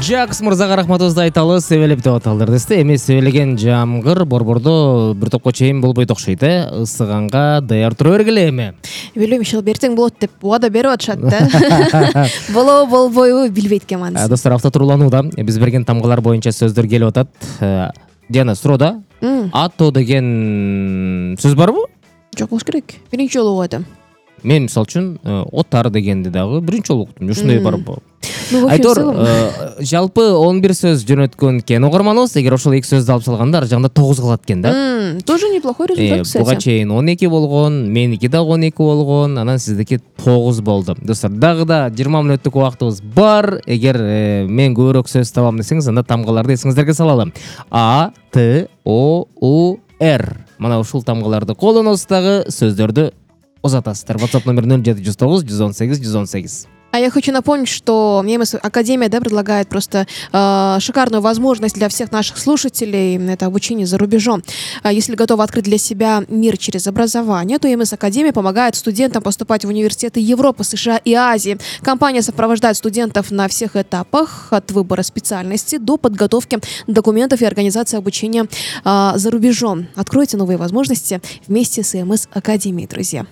Жакс мырзага рахматыбызды айталы, себелеп деп аталдыр десте. Эми себелеген жамгыр борбордо бир топко чейин болбойт окшойт, ысыганга даяр тура бергиле эми. Билбейм, иши эртең болот деп убада берип атышат да. Болобу болбойбу билбейт экенмин. Достор, автотурууланууда биз берген тамгалар боюнча сөздөр келип атат. Диана, суроода ато деген сөз барбы? Жок болуш керек. Биринчи жолу угат атам. Мен мисалы үчүн отар дегенди дагы биринчи жолу уктум. Ушундай барбы? Айтор, жалпы 11 сөз жөнөткөн экен угарманыбыз. Эгер ошол 2 сөздү алып салганда ар жагында 9 калат экен да. Тоже неплохой результат, кстати. Буга чейин 12 болгон, меники дагы 12 болгон, анан сиздики 9 болду. Достор, дагы да 20 мүнөттүк убактыбыз бар. Эгер мен көбүрөөк сөз табам десеңиз, анда тамгаларды эсиңиздерге салалы. А, Т, О, У, Р. Мына ушул тамгаларды колдоносуз дагы сөздөрдү узатасыздар. WhatsApp номер 0709 118 118. А я хочу напомнить, что ММС Академия предлагает просто шикарную возможность для всех наших слушателей. Это обучение за рубежом. Если готовы открыть для себя мир через образование, то ММС Академия помогает студентам поступать в университеты Европы, США и Азии. Компания сопровождает студентов на всех этапах, от выбора специальности до подготовки документов и организации обучения за рубежом. Откройте новые возможности вместе с ММС Академией, друзья.